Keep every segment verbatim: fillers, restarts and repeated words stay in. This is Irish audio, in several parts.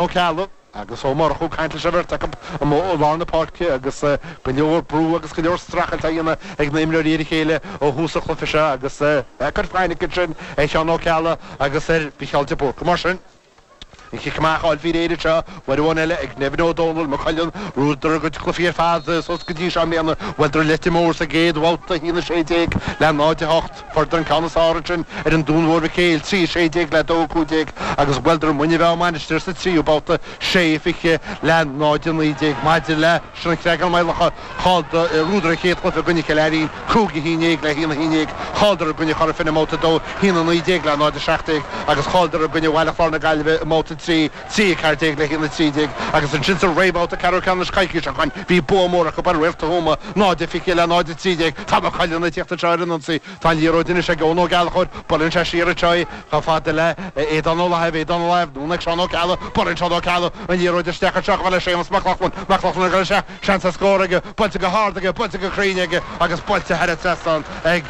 Ó Ceallaigh agus Ó Murchú ag caint leis an bheirt acu amuigh i lár na páirce agus go leor brú agus go leor streachailt á dhéanamh ag na himreoirí ar a chéile ó thús an chluiche seo agus cur fainic ansin ar Sheán Ó Ceallaigh agus ar Mhícheál de Búrca. Mar sin, an chic amach á fháil faoi réir anseo uair amháin eile ag Nevin Ó Dónaill, Maigh Cuilinn, bhuadar a gcuid cluichí ar fad suas go dtí seo i mbliana. Bhuaileadar Leitir Móir sa gcéad bhabhta, a haon a sé déag le náid a hocht. Fuaireadar an ceann is fearr ansin ar an Dún Mhór Mhic Éil, trí a sé déag le dó a cúig déag, agus bhuaileadar Muine Mheá Mainistir sa tríú babhta, sé a fiche le náid a naoi déag. Maidir leis an Chreagán Maigh Locha, chailleadar, bhuadar an chéad chluiche i gcoinne Chill Airín, cúig a haon déag le haon a haon déag. Chailleadar i gcoinne Chora Finne i mbabhta a dó, haon a naoi déag le náid a seacht déag, agus chailleadar i gcoinne Bhaile Chláir na Gaillimhe i mbabhta a trí, trí a ceathair déag le haon a trí déag. Agus ansin sa rébhabhta ceathrú ceannais coicís ó shin, bhí bua mór acu ar Réalta Thuama, náid a fiche le náid a trí déag. Tá Maigh Cuilinn ag tíocht anseo ar an ionsaí. Tá an liathróid anois ag Eoin Ó Gallchóir. Buaileann sé siar anseo í chomh fada le Aodán Ó Lathaimh, Aodán Ó Lathaimh, anonn ag Seán Ó Ceallaigh. Buaileann Seán Ó Ceallaigh an liathróid isteach anseo chomh fada le Séamus Mac Lochlainn. Mac Lochlainn ag dul isteach, seans ar scór aige, buailte go hard aige, buailte go cruinn aige agus buailte thar an trasnán ag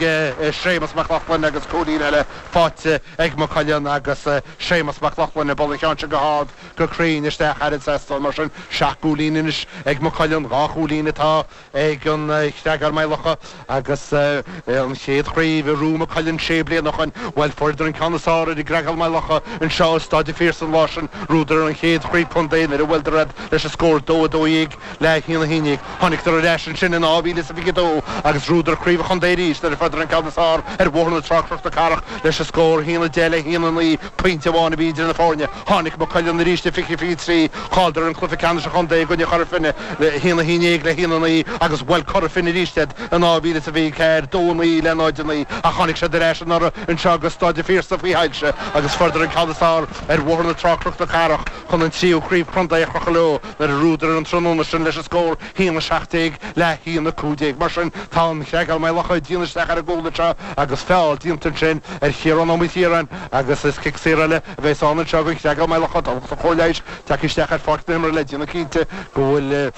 Séamus Mac Lochlainn agus cúilín eile faighte ag Maigh Cuilinn agus Séamus Mac Lochlainn ag bualadh an cheann sin go hard go cruinn isteach thar an trasnán. Mar sin, seacht gcúilín anois ag Maigh Cuilinn, dhá chúilín atá ag an Chreagán Maigh Locha agus an chéad chraobh a ghnóthaigh Maigh Cuilinn sé bliana ó shin. Bhuel, fuaireadar an ceann is fearr ar an gCreagán Maigh Locha anseo i Staid an Phiarsaigh an lá sin. Ghnóthaíodar an chéad chraobh contae nuair a bhuaileadar iad leis an scór dó a dó dhéag le haon a haon déag. Tháinigeadar ar ais ansin in dhá mhíle is a fiche dó agus ghnóthaíodar craobh an chontae arís nuair a fuaireadar an ceann is fearr ar Bhóthar na Trá Cnoc na Cathrach leis an scór haon a deich le haon a naoi, pointe amháin a bhí idir na foirne. Tháinig Maigh Cuilinn arís i fiche fiche trí, chailleadar an cluiche ceannais an chontae i gcoinne Chora Finne le haon a haon déag le haon a naoi agus bhuail Cora Finne arís iad in dhá mhíle is a fiche ceathair, dó a naoi le náid a naoi ach tháinig siad ar ais anuraidh anseo go Staid an Phiarsaigh faoi shoilse agus fuaireadar an ceann is fearr ar Bhóthar na Trá Cnoc na Cathrach chun an tríú craobh chontae a chrochadh leo nuair a ghnóthaíodar an tráthnóna sin leis an scór haon a seacht déag le haon a cúig déag. Mar sin, tá an Chreagán Maigh Locha ag déanamh isteach ar an gcúl anseo agus feall déanta ansin ar Chiarán Ó Maoilchiaráin agus is cic saor eile a bheas ann anseo don Chreagán Maigh Locha. Tá lucht an chomhair leighis tagtha isteach ar pháirc na himeartha le déanamh cinnte go bhfuil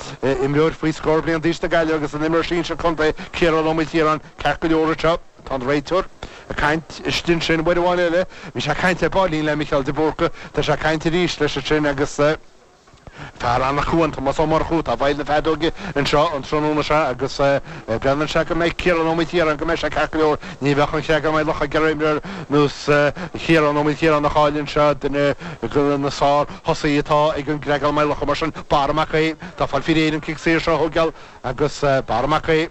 imreoir faoi scór bliain d'aois na Gaillimhe agus an imreoir sinsir contae, Ciarán Ó Maoilchiaráin, ceart go leor anseo. Tá an réiteoir ag caint istigh ansin uair amháin eile. Bhí sé ag caint ar baillín le Micheál de Búrca. Tá sé ag caint arís leis ansin agus fear an-acmhainn, Tomás Ó Murchú, atá i bhfeighil na feadóige anseo an tráthnóna seo agus breathnaíonn sé go mbeidh Ciarán Ó Maoilchiaráin, go mbeidh sé ceart go leor. Ní bheadh an Chreagán Maigh Locha ag iarraidh imreoir ar nós Chiarán Ó Maoilchiaráin a chailleadh anseo, duine de na sár-thosaithe atá ag an gCreagán Maigh Locha. Mar sin, Barra Mac Aodha, tá fáil faoi réir an cic saor seo a thógáil agus Barra Mac Aodha,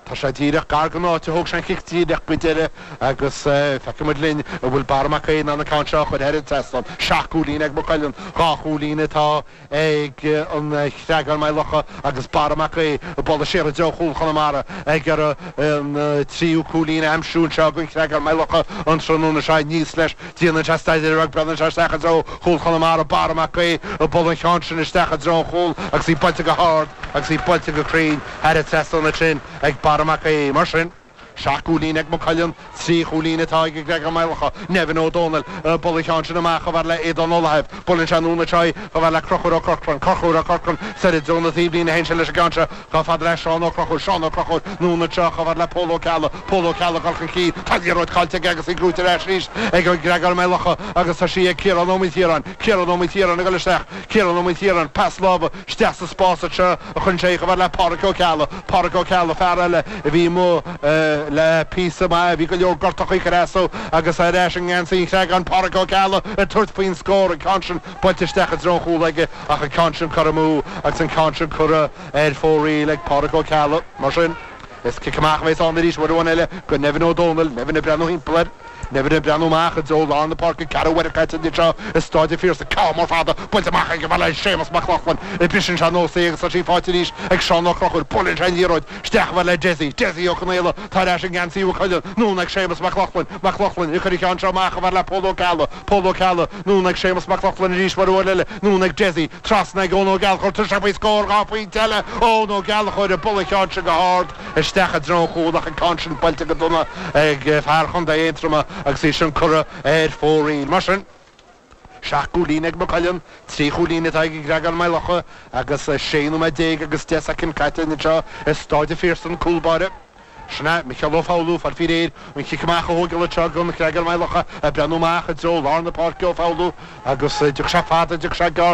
Tá sé díreach gar don áit a thóg sé an chic díreach go deireadh agus feicfidh muid linn an bhfuil Barra Mac Aodha in ann an ceann seo a chur thar an trasnán. Seacht gcúilín ag Maigh Cuilinn, dhá chúilín atá ag an Chreagán Maigh Locha agus Barra Mac Aodha ag bualadh siar i dtreo chúl Chonamara ag iarraidh an tríú cúilín a aimsiú anseo don Chreagán Maigh Locha an tráthnóna seo. Aníos leis, déanann sé staidéar beag, breathnaíonn sé isteach i dtreo chúl Chonamara, Barra Mac Aodha ag bualadh an cheann sin isteach i dtreo an chúil agus í buailte go hard agus í buailte go cruinn thar an trasnán ansin ag Barra Mac Aodha. Mar sin, seacht gcúilín ag Maigh Cuilinn, trí chúilín atá ag an gCreagán Maigh Locha. Nevin Ó Dónaill ag bualadh an cheann sin amach chomh fada le Aodán Ó Lathaimh. Buaileann sé anonn anseo í chomh fada le Conchúr Ó Corcráin. Conchúr Ó Corcráin soir i dtreo na taobhlíne a théann sé leis an gceann seo chomh fada le Seán Ó Conchúir. Seán Ó Conchúir anonn anseo chomh fada le Pól Ó Ceallaigh. Pól Ó Ceallaigh ag dul chun cinn. Tá an liathróid caillte aige agus í gnóite ar ais arís ag an gCreagán Maigh Locha agus tá sí ag Ciarán Ó Maoilchiaráin. Ciarán Ó Maoilchiaráin ag dul isteach. Ciarán Ó Maoilchiaráin, pas láimhe isteach sa spás anseo a chuireann sé chomh fada le Páraic Ó Ceallaigh. Páraic Ó Ceallaigh, fear eile a bhí amuigh le píosa maith, bhí go leor gortachaí ag cur as dó agus ar ais i ngeansaí an Chreagáin, Páraic Ó Ceallaigh ag tabhairt faoin scór, an ceann sin buailte isteach i dtreo an chúil aige ach an ceann sin curtha amú agus an ceann sin curtha ar fóraoil ag Páraic Ó Ceallaigh. Mar sin, is cic amach a bheas ann arís uair amháin eile do Nevin Ó Dónaill. Nevin ag breathnú thimpeall air. Nevin ag breathnú amach i dtreo lár na páirce, ceathrú uaire caite anseo i Stáid an Phiarsaigh. Ceann mór fada buailte amach ag a bhfuil Séamus Mac Lochlainn. Briseann sé anuas í agus tá sí faighte arís ag Seán Ó Conchúir. Buaileann sé an liathróid isteach chomh fada le Dessie. Dessie Ó Conaola atá ar ais i ngeansaí Mhaigh Cuilinn. Anonn ag Séamus Mac Lochlainn. Mac Lochlainn ag cur an cheann seo amach chomh fada le Pól Ó Ceallaigh. Pól Ó Ceallaigh. Anonn ag Séamus Mac Lochlainn arís uair amháin eile. Anonn ag Dessie. Trasna ag Eoin Ó Gallchóir. Tá sé faoi scór dhá phointe eile. Eoin Ó Gallchóir ag bualadh an cheann sin go hard. Isteach i dtreo an chúil ach an ceann sin buailte go dona ag fear Chontae Aontroma agus í sin curtha ar fóraoil. Mar sin, seacht gcúilín ag Maigh Cuilinn, trí chúilín atá ag an gCreagán Maigh Locha agus sé nóiméad déag agus deich soicind caite anseo i Stáid an Phiarsaigh. An cúl báire Sin é Micheál Ó Foghlú fáil faoi réir an cic amach a thógáil anseo don Chreagán Maigh Locha ag breathnú amach i dtreo lár na páirce Ó Foghlú agus d'fhiuch sé fada d'fhiuch sé gearr